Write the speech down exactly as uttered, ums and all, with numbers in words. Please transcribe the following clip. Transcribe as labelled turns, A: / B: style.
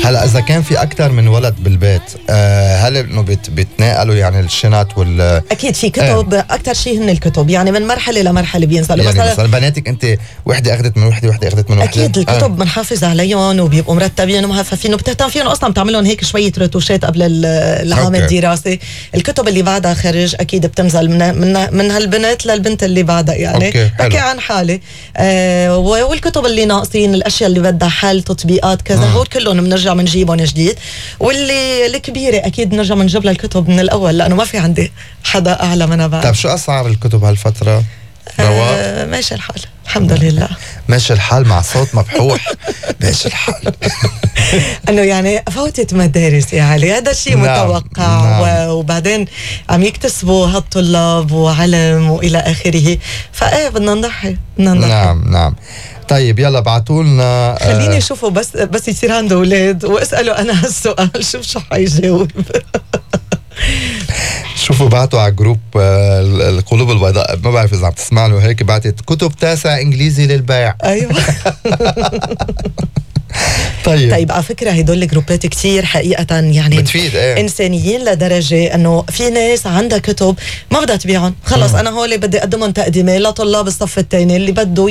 A: هلا اذا كان في اكثر من ولد بالبيت آه هل انه بت بيتناقلوا يعني الشنط وال
B: اكيد في كتب آه. اكثر شيء هن الكتب، يعني من مرحله لمرحله بينزلوا.
A: يعني مثلا, مثلا بناتك انت وحده اخذت من وحده وحده اخذت من وحده،
B: اكيد الكتب بنحافظ آه. عليهم وبيبقوا مرتبين ومهففين وبتهتم فيهم، اصلا بتعملهم هيك شويه رتوشات قبل العام الدراسي. الكتب اللي بعدها خرج اكيد بتنزل من من, من هالبنت للبنت اللي بعدها، يعني بحكي عن حالي. آه والكتب اللي ناقصين، الاشياء اللي بدها حل، تطبيقات كذا، هول كلهم بنرجع بنجيبهم جديد. واللي الكبيره اكيد بنرجع بنجيب لها الكتب من الاول، لانه ما في عندي حدا اعلى منها بعد.
A: طيب شو اسعار الكتب هالفتره؟
B: آه ماشي الحال الحمد لله.
A: ماشي الحال مع صوت مبحوح. ماشي الحال.
B: انه يعني فوتت مدارس يا علي، هذا الشيء
A: نعم.
B: متوقع.
A: نعم.
B: وبعدين عم يكتسبوا هالطلاب وعلم والى اخره، فايه بدنا نضحي بدنا نضحي.
A: نعم نعم. طيب يلا بعتوا لنا.
B: خليني اشوفه بس بس يصير عنده اولاد واساله انا هالسؤال شوف شو حيجاوب.
A: شوفوا بعتوا على جروب القلوب البيضاء، ما بعرف اذا عم تسمع له هيك، بعتت كتب تاسع انجليزي للبيع.
B: ايوه.
A: طيب
B: طيب على فكره هدول الجروبات كتير حقيقه يعني
A: بتفيد ايه؟
B: انسانيين لدرجه انه في ناس عندها كتب ما بدها تبيعهم، خلص انا هول بدي اقدمهم تقديمي لطلاب الصف الثاني اللي بده